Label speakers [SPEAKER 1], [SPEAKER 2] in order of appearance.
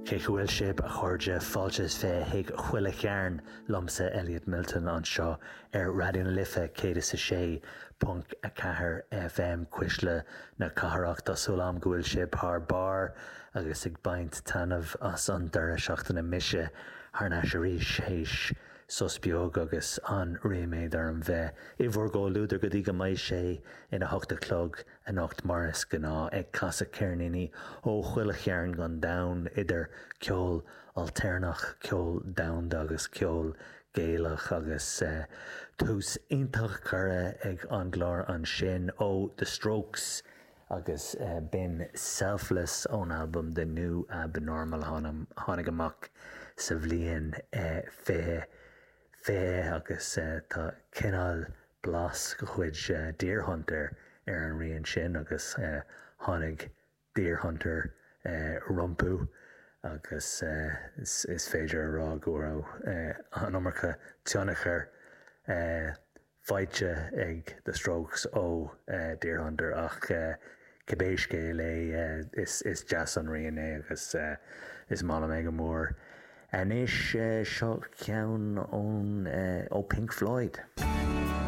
[SPEAKER 1] Cén chaoi a bhfuil sibh, a chairde, fáilte is 20 chuig Chuile Chearn liomsa, Elliot Milton, anseo ar Raidió na Life 106.4 FM, Cuisle na Cathrach. Tá súil agam go bhfuil sibh thar barr agus ag baint taitneamh as an deireadh seachtaine. Mise thar n-ais arís théis sos beag agus an-ríméad orm bheith i bhur gcomhluadar go dtí go mbeidh sé ina hocht a chlog anocht mar is gnáth, ag casadh ceirníní ó chuile chearn den domhan, idir ceol ailtéarnach, ceol domhanda agus ceol Gaelach agus tús iontach curtha ag an gclár ansin ó The Strokes agus b'in Selfless ón albam The New Abnormal a tháinig amach sa bhliain 2020 agus tá cineál blas de chuid Deerhunter ar an rian sin agus tháinig Deerhunter rompu agus is féidir a rá go raibh an iomarca tionchair faighte ag The Strokes ó Deerhunter ach cibé scéal é is deas an rian é agus is maith liom é go mór. Anois seo ceann ón ó Pink Floyd.